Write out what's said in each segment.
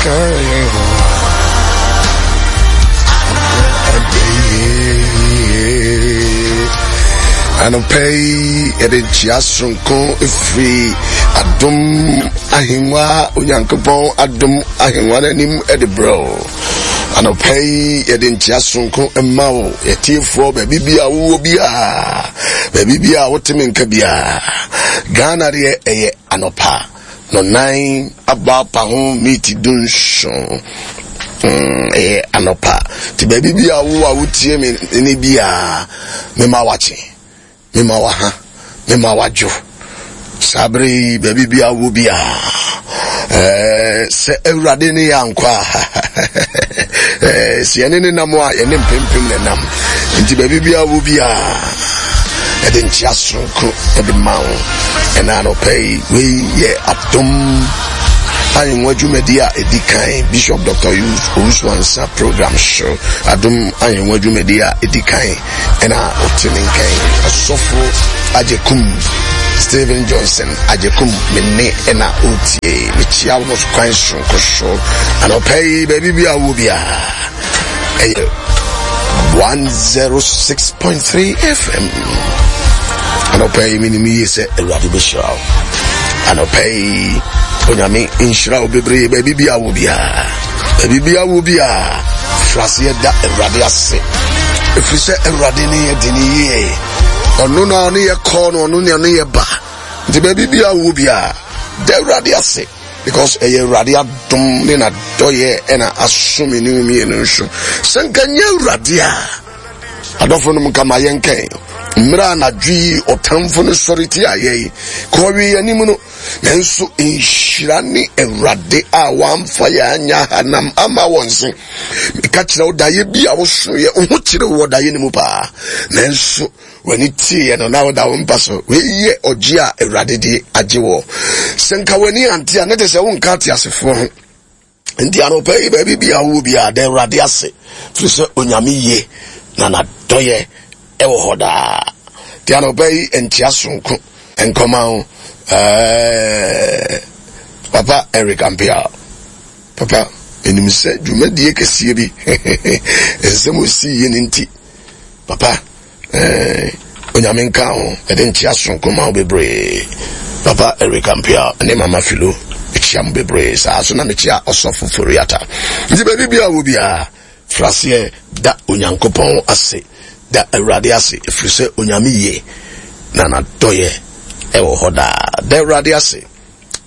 ka yɛn ho. Anɔpa yi yɛde nkyia soronko firi adom ahengua Onyankopɔn adom ahengua no anim de brɛ wo. Anɔpa yi yɛde nkyia soronko ma wo yɛtiefoɔ baabi bi a wowɔ biara baabi bi a wote me nka biara. Ghana deɛ ɛyɛ anɔpa. Nɔnan abɔ apa ho miiti dunson. Mm, ɛyɛ anɔpa. Nti baabi bi a wo a wotie me ne bi a mema wakye, mema waha, mema wadwo. Saa bere yi baabi bi a wo bi a ɛɛ sɛ awurade ne yɛ ankɔ a ɛɛ sɛ yɛne ne nam a yɛne mpempem ne nam. Nti baabi bi a wo bi a ɛde nkyea soronko ɛde ma wo ɛna anɔpa yi wei yɛ adom ahengua dwumadi a ɛdi kan Bishop Dr. Owusu Ansa program so adom ahengua dwumadi a ɛdi kan ɛna ɔte ne nkan ɔsɔfo Agyekum Stephen Johnson Agyekum me ne ɛna ɔtie mekyia wo kwan soronko so anɔpa yi baabi bi a wɔ biara ɛyɛ 106.3 FM anɔpa yi menim yie sɛ awurade bɛhyira wo anɔpa yi onyame nhyira wo bebree baabi bia wo biara baabi bia wo biara fraseɛ da awurade ase ɛfiri sɛ awurade ne yɛ de ne yie ɔno na ɔne yɛ kɔɔ no ɔno ne ɔne yɛ ba nti baabi bia wo biara da awurade ase because ɛyɛ awurade adom ne n'adɔyɛ ɛna aso me ne wo mmienu nso sɛ nka nyɛ awurade a adɔfo nom nka ma yɛnkɛn mmerɛ anadwo yi ɔtamfo no sɔre ti ayɛ yi kɔwe yɛn anim no nanso nhyira ne awurade a wamfa yɛn anya hanam ama wɔn se meka kyerɛ wo daeɛ bi a wosoeɛ wo ho kyerɛ wɔ daeɛ no mu paa nanso W'ani teeɛ no na woda wo mpa so. Wei yɛ ɔgye a Awurade de agye wɔ. Sɛ nka w'ani ante a, ne te sɛ wonka ateasefoɔ ho. Nti anɔpa yi baabi bi a wowɔ biara da Awurade ase. Firi sɛ Onyame ye na n'adɔyɛ ɛwɔ hɔ daa. Nti anɔpa yi nkyea sonko nkɔma wo. Ɛɛ Papa Eric Ampiao. Papa, menim sɛ dwumadie kɛseɛ bi nsɛm osii yɛ ne nti. Papa eh, Onyame nka ho, ɛde nkyea soronko ma wo bebree. Papa Eric Ampia ne Mama Philo, mekyia mo bebree. Saa so na mekyia Ɔsɔfo Foriata. Nti baabi bia wɔ biara, fraseɛ da Onyankopɔn ase, da Awurade ase, ɛfiri sɛ Onyame yie na n'adɔyɛ ɛwɔ hɔ daa. Da Awurade ase.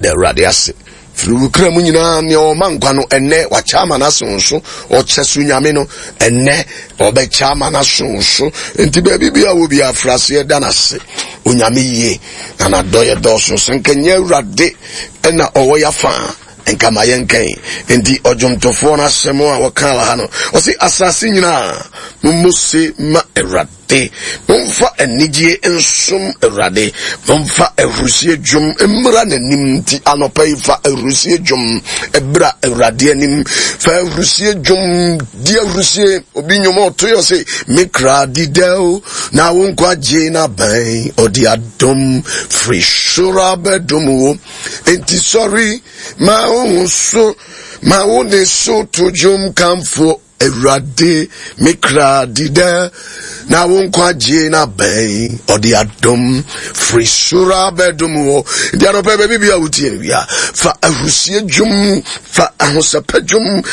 Da Awurade ase. Firi wo kra mu nyinaa, nea ɔma nkwa no, ɛnnɛ wakyɛ ama no aso so. Ɔkyɛ so nyame no, ɛnnɛ ɔbɛkyɛ ama no aso so. Nti baabi bi a wɔ bi afiri aseɛ da no ase. Onyame yie, na n'adɔyɛ dɔɔso. Sɛ nka nyɛ Awurade ɛna ɔwɔ yafa a, nka ma yɛnkɛn. Nti ɔdwomtofoɔ no asɛm a wɔka wɔ ha no, ɔse asase nyinaa, mommɔ se ma Awurade. De, momfa anigyeɛ nsom Awurade, momfa ahurusie dwom mmra n'anim. Nti anɔpa yi fa ahurusie dwom bra Awurade anim, fa ahurusie dwom di ahurusie. Obi nnwom a ɔto yɛ ɔse, me kra di dɛw na wo nkwagye n'aban, ɔde adom firi soro abɛdom wo. Enti sɔre ma wo ho so, ma wo ne so to dwom kamfo Awurade, me kra di dɛ, na wo nkwagye no abɛn. Ɔde adom firi soro abɛdom wo. Nti anɔpɛ baabi bi a wotie no bia, fa ahurusie dwom, fa ahosɛpɛ dwom,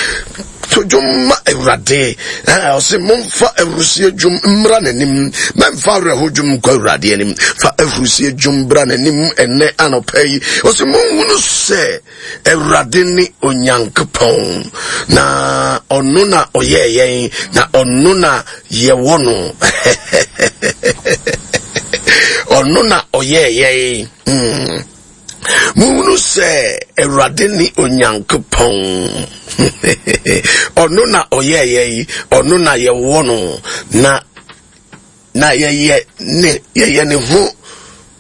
to dwom ma Awurade. Ɔse momfa ahurusie dwom mmra n'anim, mɛmfa awerɛho dwom nkɔ Awurade anim. Fa ahurusie dwom bra n'anim ɛnɛ anɔpɛ yi. Ɔse monhunu sɛ Awurade ne Onyankopɔn, na ɔno na ɔyɛɛ yɛn, na ɔno na yɛwɔ no. Ɔno na ɔyɛɛ yɛn. Mm. Mohunu sɛ Awurade ne Onyankopɔn. Ɔno na ɔyɛɛ yɛn, ɔno na yɛwɔ no, na na yɛyɛ ne yɛyɛ ne ho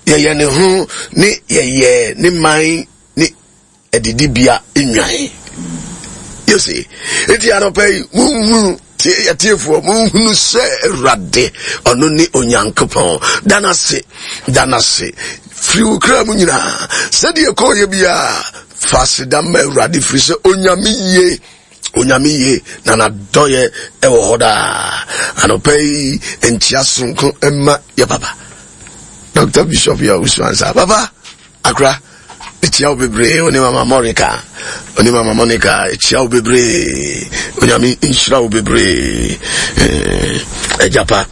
yɛyɛ ne ho ne yɛyɛ ne man ne adidibea nnwan. Yose, enti anɔpa yi monhunu atiefoɔ monhunu sɛ Awurade ɔno ne Onyankopɔn. Da no ase, da no ase firi wo kra mu nyinaa sɛdeɛ kɔɔyɛ biara. Fa aseda ma Awurade firi sɛ Onyame yie. Onyame yie na n'adɔyɛ ɛwɔ hɔ daa. Anɔpa yi nkyia soronko mma yɛ papa. Dr. Bishop yɛ Owusu-Ansah. Papa, akora, ekyia wo bebree, one mama Monica, one mama Monica, ekyia wo bebree. Onyame nhyira wo bebree. Eh, agya pa,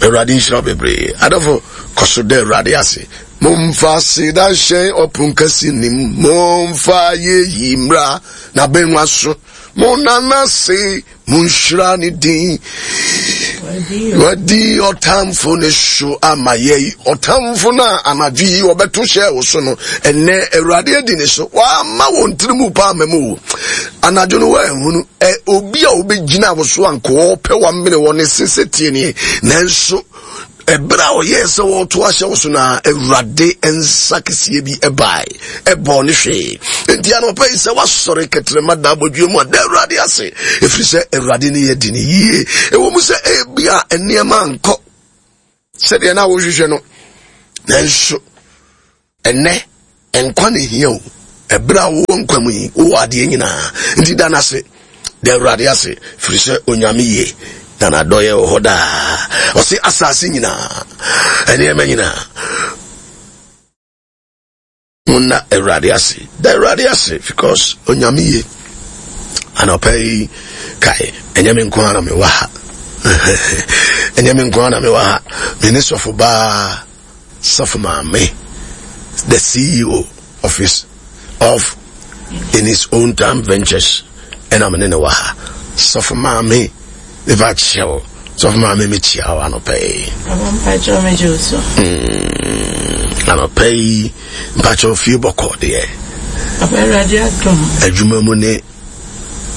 Awurade nhyira wo bebree. Adɔfo, kɔ so da Awurade ase. Momfa aseda nhyɛn ɔpon kɛse nim, momfa ayeyi mmra n'abengua so, monna n'ase, monhyira ne din. Wadi ɔtamfo ne so ama yɛi, ɔtamfo no a anadwo yi ɔbɛto hyɛɛ wo so no, ɛnnɛ Awurade adi ne so, wama wɔn tiri mu paa ma mu o. Anadwo no wɔanhunu, ɛ obi a ɔbɛgyina wo so anka ɔpɛ wamene wɔ ne se sɛ tie nie, nanso Ɛberɛ a ɔyɛɛ sɛ wɔreto ahyɛ wo so na Awurade nsa kɛseɛ bi bae, ɛbɔɔ ne hwee. Enti anɔpa yi sɛ woasɔre kɛtrɛma da abɔdwoɛ mu a, da Awurade ase, ɛfiri sɛ Awurade ne yɛ di ne yie. Ɛwɔ mu sɛ ebia nneɛma ankɔ sɛdeɛ na wohwehwɛ no, nanso Ɛnnɛ, nkwa na ehia o. Ɛberɛ a wowɔ nkwa mu yi, wowɔ adeɛ nyinaa. Nti da no ase, da Awurade ase, firi sɛ Onyame ye, na n'adɔeɛ wɔ hɔ daa. Ɔse asase nyinaa, nneɛma nyinaa, monna Awurade ase. Da Awurade ase, because Onyame ye. Anɔpa yi, kae, ɛnyɛ me nko ara na mewɔ ha. Ɛnyɛ me nko ara na mewɔ ha. Me ne sɔfo baa. Sɔfo Maame, the CEO of his of in his own time ventures, ɛna me ne ne wɔ ha. Sɔfo Maame, mefa kyɛw. Sɔfo Maame, mekyia wo anɔpa yi. Anɔpa yi, mpakyɛw fie bɔkɔ deɛ. Adwuma mu ne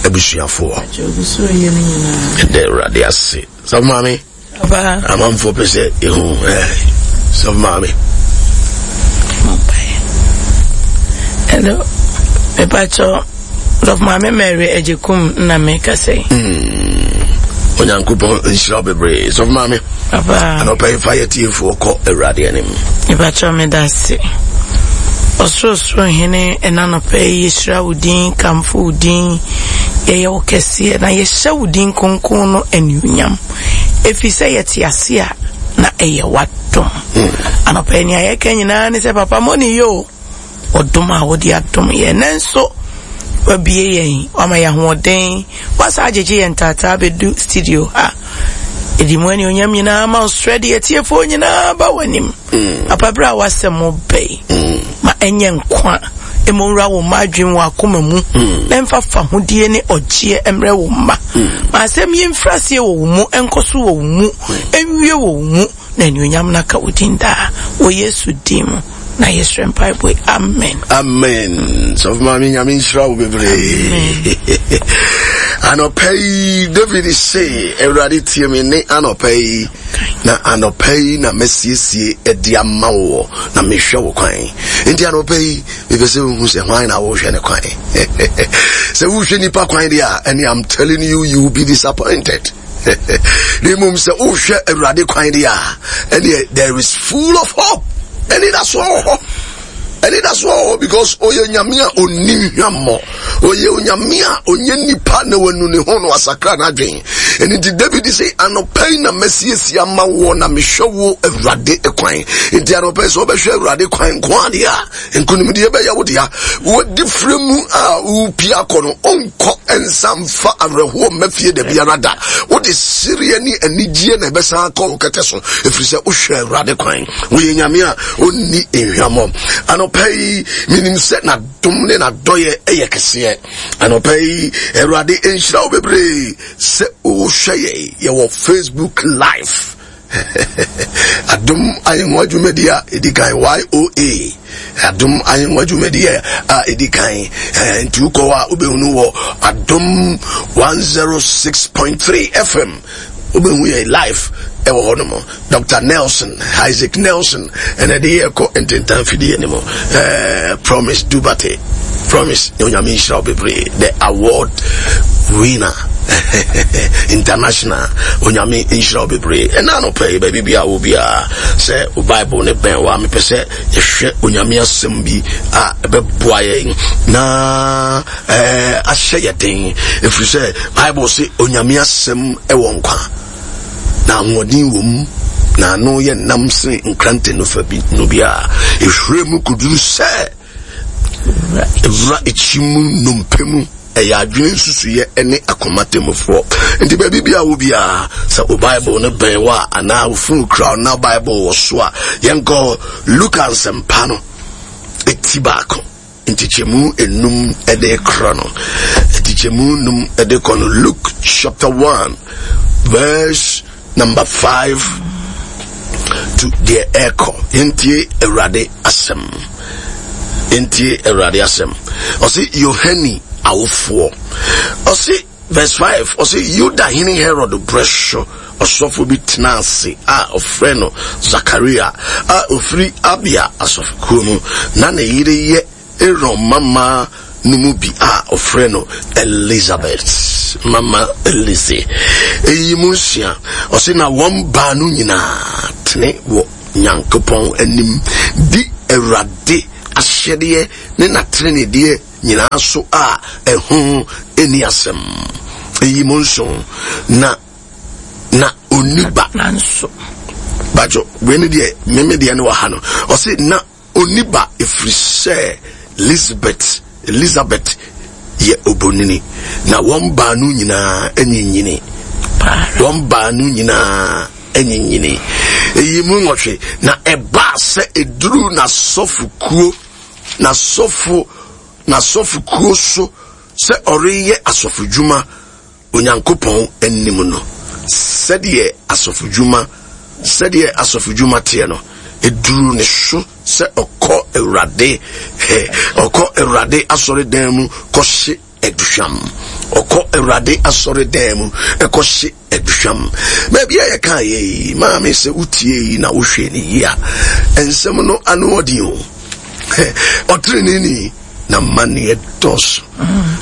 abusuafoɔ. Ɛdɛ Awurade ase. Sɔfo Maame. Amanfoɔ pɛ sɛ ehu ɛɛ sɔfo maame. Hello, mepakyɛ sɔfo maame Mary Agyekum na meka sɛ. Hmm. Onyankopɔn nhyira wo bebree sɔfo maame. Papa. Anɔpa yi fa yɛ tiefoɔ kɔ Awurade anim. Mepakyɛ meda ase. Ɔsorosoro hene ɛna anɔpa yi yɛhyira wo din kamfo wo din yɛyɛ wo kɛseɛ na yɛhyɛ wo din kronkron no anuonyam. Ɛfiri sɛ yɛte ase a, na ɛyɛ w'adom. Anɔpa yi nea yɛka nyinaa ne sɛ papa mo ne yɛ o, ɔdom a wode adom yɛn. Nanso wabie yɛn, wama yɛn ahoɔden, wasa agyegye yɛn taataa bɛdu studio ha. Ɛdi mu anuonyam nyinaa ma ɔsrɛ de atiefoɔ nyinaa ba w'anim. Mm. Papa berɛ a w'asɛm bɛ yi, mm. ma ɛnyɛ nkwa ɛmɔ nwura wo mma adwene wɔ akoma mu mm. na ɛmfa fahodie ne ɔgyeɛ mmerɛ wo mma. Ma asɛm yi mfiri aseɛ wɔ wo mu, ɛnkɔ so wɔ wo mu, ɛnwie wɔ wo mu, na anuonyam no aka wo din daa. Wɔ Yesu din mu na yɛsrɛ mpaebɔ yi, amen. Amen. Sɔfo maame Nyame nhyira wo bebree. Anɔpa yi David se Awurade tie me ne anɔpa yi na anɔpa yi na masiesie de ama woɔ na mehwɛ wo kwan. Nti anɔpa yi mepɛ sɛ wohu sɛ hwan na wohwɛ ne kwan. Sɛ wohwɛ nipa kwan deɛ a ɛne I'm telling you you will be disappointed. Na mmom sɛ wohwɛ Awurade kwan deɛ a ɛneɛ there is full of hope. Anidasoɔ wɔ hɔ. Anidasoɔ wɔ hɔ because ɔyɛ nyame a ɔnni hwammɔ. Ɔyɛ onyame a ɔnyɛ nipa na wanu ne ho na wasakra n'adwen. Ɛno nti David sɛ anɔpa yi na masiesie ama woɔ na mehwɛ wo Awurade kwan. Nti anɔpa yi sɛ wobɛhwɛ Awurade kwan nko adeɛ a nkonimdie bɛyɛ wo dea. Wadi frɛ mu a wopia akɔ no ɔnkɔ nsa mfa awerɛhoɔ mma fie da biara da. Wode sereɛ ne anigyeɛ na ɛbɛsan akɔ wo kɛtɛ so ɛfiri sɛ wohwɛ Awurade kwan. Woyɛ nyame a ɔnni nhwammɔ. Anɔpa yi menim sɛ na dom ne n'adɔyɛ yɛ kɛseɛ. Anɔpa yi, Awurade nhyira wo bebree sɛ wohwɛ yɛn. Yɛwɔ Facebook Live. Adom Ahengua dwumadi a ɛdi kan YOA. Adom Ahengua dwumadi a ɛdi kan. Eh, nti wokɔ hɔ a wobɛhunu wɔ Adom 106.3 FM. Wobɛhu yɛn live ɛwɔ hɔ nom. Dr. Nelson, Isaac Nelson, ɛna ɛde yɛ kɔ ntentan fidie no mu. Eh, Promise Dubate, Promise, Onyame nhyira wo bebree, the award winner. International. Onyame nhyira wo bebree. Ɛna anɔpa yi baabi bia wo biara sɛ wo Bible ne bɛn wa mepɛ sɛ yɛhwɛ Onyame asɛm bi a ɛbɛboa yɛn na ɛɛ ahyɛ yɛ den ɛfiri sɛ Bible se Onyame asɛm ɛwɔ nkwa na ahoɔden wɔ mu na ano yɛ nam sene nkrante no fa bi no biara ɛhwere mu kɔduru sɛ ɛwura akyi mu nnompe mu ɛyɛ adwene nsusuiɛ ne akoma temmufoɔ nti baabi bi a wo biara sɛ wo bible no bɛn wo a anaa wo fon kura na bible wɔ so a yɛnkɔ luka nsɛmpa no ɛti baako nkyekyɛmu enum ɛde korɔ no nkyekyɛmu num ɛde kɔ no luke chapter 1 verse number 5 to deɛ ɛrekɔ yɛntie awurade asɛm yɛntie awurade asɛm ɔse yohane awofoɔ ɔse verse 5 ɔse yuda hene herod berɛ so ɔsɔfo bi tena ase a ɔfrɛ no zakaria a ɔfiri abia asɔfokuo mu na ne yere yɛ Aaron mmammaa no mu bi a wɔfrɛ no Elizabeth, Mama Elise. Eyi mu nsia, ɔse na wɔn baanu nyinaa tene wɔ Nyankopɔn anim di Awurade ahyɛdeɛ ne n'ateneneedeɛ nyinaa so a ɛho nni asɛm. Eyi mu nson, na na onni ba. Nanso. Bajo, wei ne deɛ, meme deɛ ne wɔ ha no. Ɔse na Onni ba ɛfiri sɛ Lisbet, Elisabet, yɛ obonini, na wɔn baanu nyinaa anyinyini. Wɔn baanu nyinaa anyinyini. Eyi mu nwɔtwe, na ɛbaa sɛ eduruu n'asɔfokuo, n'asɔfo, n'asɔfokuo so sɛ ɔreyɛ asɔfodwuma Onyankopɔn anim no, sɛdeɛ asɔfodwuma, sɛdeɛ asɔfodwuma teɛ no, ɛduruu ne so sɛ ɔkɔ Awurade, ɔkɔ Awurade asɔredan mu kɔhye aduhwam. Ɔkɔ Awurade asɔredan mu kɔhye aduhwam. Baabi a yɛka yɛ yi, maame sɛ wotie yi na wohwɛ ne yie a, nsɛm no ano ɔden o. Ɔteneneeni na mmaneɛ dɔɔso.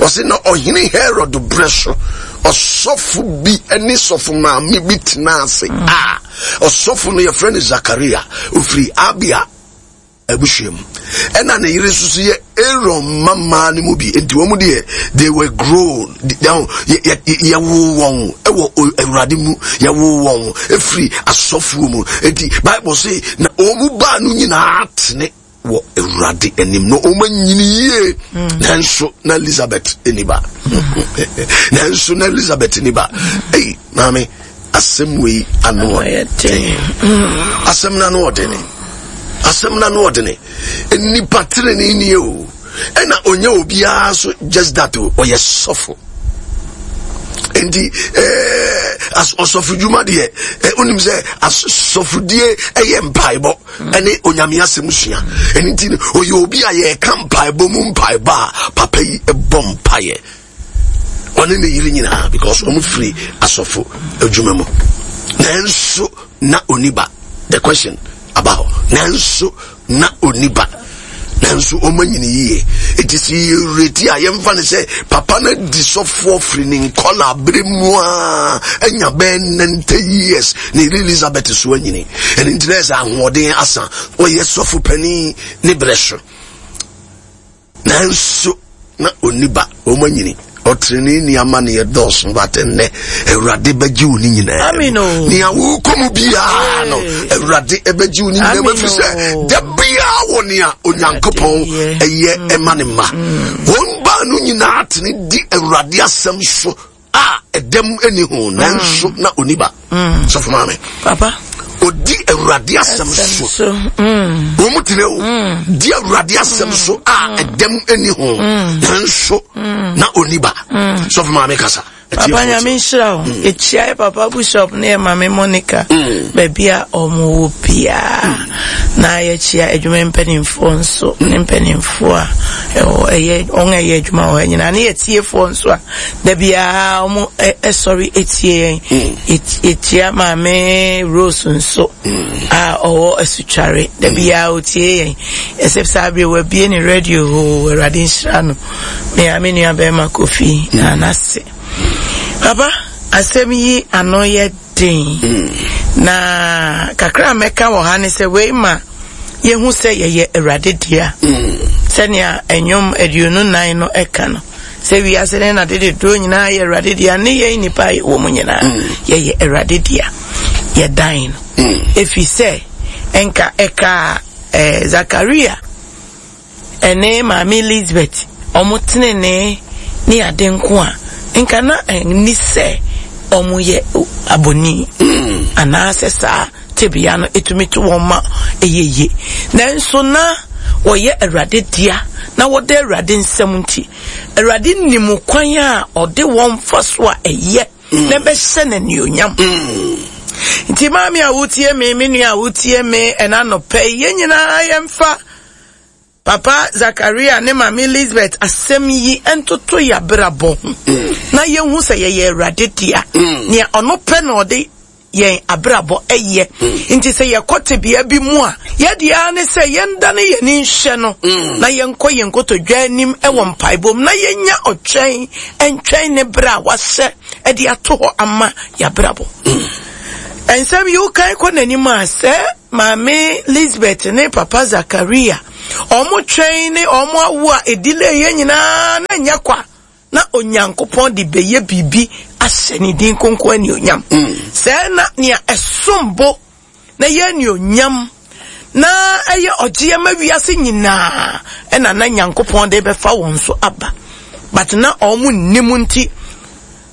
Ɔse na ɔhene Herod berɛ so ɔsɔfo bi ne sɔfo maame bi tena ase a ɔsɔfo no yɛfrɛ no Zakaria, ofiri Abia abusua mu. Ɛna ne yere nso so yɛ Aaron mmammaa no mu bi. Nti wɔn deɛ they were grown. Yɛwoo wɔn wɔ Awurade mu. Yɛwoo wɔn efiri asɔfoɔ mu. Nti Bible se na wɔn mu baanu nyinaa tene wɔ Awurade anim na wɔn anyini yie. Mm. Nanso na Elizabeth ni ba. Mm. Nanso na Elizabeth ni ba. Ei, maame, asɛm wei ano ɔden. Mm. Asɛm no ano ɔdene. Asɛm no ano ɔdene. Nnipa tenene nie o. Ɛna ɔnyɛ obiara so just that o, ɔyɛ sɔfo. Nti eh, ɔsɔfo dwuma deɛ, eh, wonim sɛ asɔfodie ɛyɛ mpaebɔ. ɛne onyame asɛm sua ɛno nti no ɔyɛ obi a yɛka mpaebɔ mu mpaebɔ a papa yi bɔ mpaeɛ ɔne ne yere nyinaa because wɔn firi asɔfo adwuma mu nanso na ɔni ba the question aba hɔ nanso na ɔni ba nanso wɔn anyini yie eti si yɛreti a yɛmfa no sɛ papa no di sɔfoɔ firi ne nkɔla abere mu a anya bɛyɛ 90 years ne yere Elizabeth so anyini ɛno nti na ɛsɛ ahoɔden asa ɔyɛ sɔfo panin ne berɛ so nanso na ɔnni ba wɔn anyini ɔtrenee amanneɛ dɔɔso but nnɛ awurade bɛgye wo ne nyinaa nea wokɔ mu biara no awurade ɛbɛgye wo ne nyinaa mu ɛfiri sɛ da biara wɔ nea onyankopɔn ɛyɛ mm. ɛma ne mma mm. wɔn baanu nyinaa tene di awurade asɛm so a ɛdɛm ɛni ho nanso mm. na ɔni ba mm. sɔfo maame papa odi awurade asɛm so mm. wɔn mu tene o mm. di awurade asɛm so a ɛdɛm ɛni ho nanso na ɔni ba sɔfo maame kasa papa nyame nhyira o ɛkyia yɛ papa bishop ne yɛ maame monica baabi a ɔmo wɔ biaa na yɛkyia adwuma mpanimfoɔ nso ne mpanimfoɔ a ɛwɔ ɛyɛ wɔn a ɛyɛ adwuma wɔ ha nyinaa ne yɛtiefoɔ nso a Da biara wɔn sɔre tie yɛn. Yɛkyia maame Rose nso a ɔwɔ asutware. Da biara ɔtie yɛn. Ɛsɛ saa bere wabie ne radio hoo Awurade nhyira no. Me a me nua bɛrima Kofi na n'ase. Papa, asɛm yi ano yɛ den. Na kakra a mɛka wɔ ha ne sɛ wei ma yɛhu sɛ yɛyɛ Awurade dea. Sɛnea Nnwom 24 no ɛka no, sɛ wiase ne n'ade dodoɔ nyinaa yɛ Awurade dea, ne yɛn nnipa a yɛwɔ mu nyinaa yɛyɛ Awurade dea. Yɛdan no. Ɛfiri sɛ, nka ɛkaa eh, Zakaria ɛne maame Elizabeth wɔn tenenee ne ade nko a, nka na ɛnni sɛ wɔyɛ abɔni anaasɛ saa tebea no ɛtumi to wɔn ma ɛyɛ yie. Nanso na wɔyɛ Awurade dea na wɔda Awurade nsam nti, Awurade nim kwan a ɔde wɔn fa so a ɛyɛ na ɛbɛhyɛ no anuonyam. Nti maame a wotie me, me nua a wotie me ɛna anɔpɛ yi, yɛn nyinaa yɛmfa Papa Zakaria ne Maame Elizabeth asɛm yi ntoto yɛn abrabɔ ho na yɛnhu sɛ yɛyɛ Awurade dea. Nea ɔno pɛ na ɔde yɛn abrabɔ yɛ. Nti sɛ yɛkɔ tebea bi mu a, yɛde ara ne sɛ yɛndane yɛn ani nhwɛ no na yɛnkɔ yɛn nkotodwe anim wɔ mpaebɔ mu na yɛnya ɔtwɛn ntwɛn ne berɛ a wahyɛ de ato hɔ ama yɛabrabɔ. Nsɛm yi wokan kɔ n'anim a, sɛ Maame Lisbeth ne Papa Zakaria wɔn twɛn ne wɔn awo a ɛdelay yɛ nyinaa na ɛnyɛ kwa na Onyankopɔn de bɛyɛ biribi ahyɛ ne din kronkron anuonyam. Sɛɛ na nea ɛsom bo na ɛyɛ anuonyam na ɛyɛ ɔgyeɛ ma wiase nyinaa ɛna na Nyankopɔn de bɛfa wɔn so aba. But na wɔn nnim nti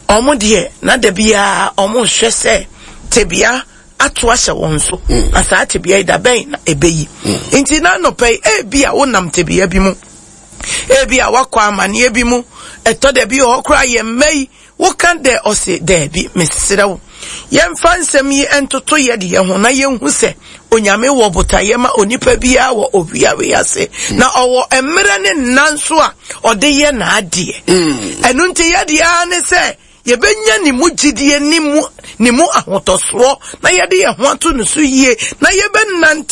wɔn deɛ na da biara wɔn hwɛ sɛ tebea ato ahyɛ wɔn so na saa tebea yi da bɛn na ɛbɛyi. Nti na anɔpa yi ebi a wonam tebea bi mu, ebi a wakɔ amaneɛ bi mu, ɛtɔ da bi wɔ hɔ koraa yɛn mma yi woka dɛ ɔse daabi, mesrɛ wo yɛmfa nsɛm yi ntoto yɛ deɛ ho na yɛnhu sɛ Onyame wɔ botaeɛ ma onipa biara wɔ owia wei ase, na ɔwɔ mmerɛ ne nna nso a ɔde yɛ n'adeɛ. Ɛno nti yɛ deɛ ara ne sɛ yɛbɛnya ne mu gyidie ne mu ne mu ahotɔsoɔ na yɛde yɛn ho ato ne so yie na yɛbɛnante.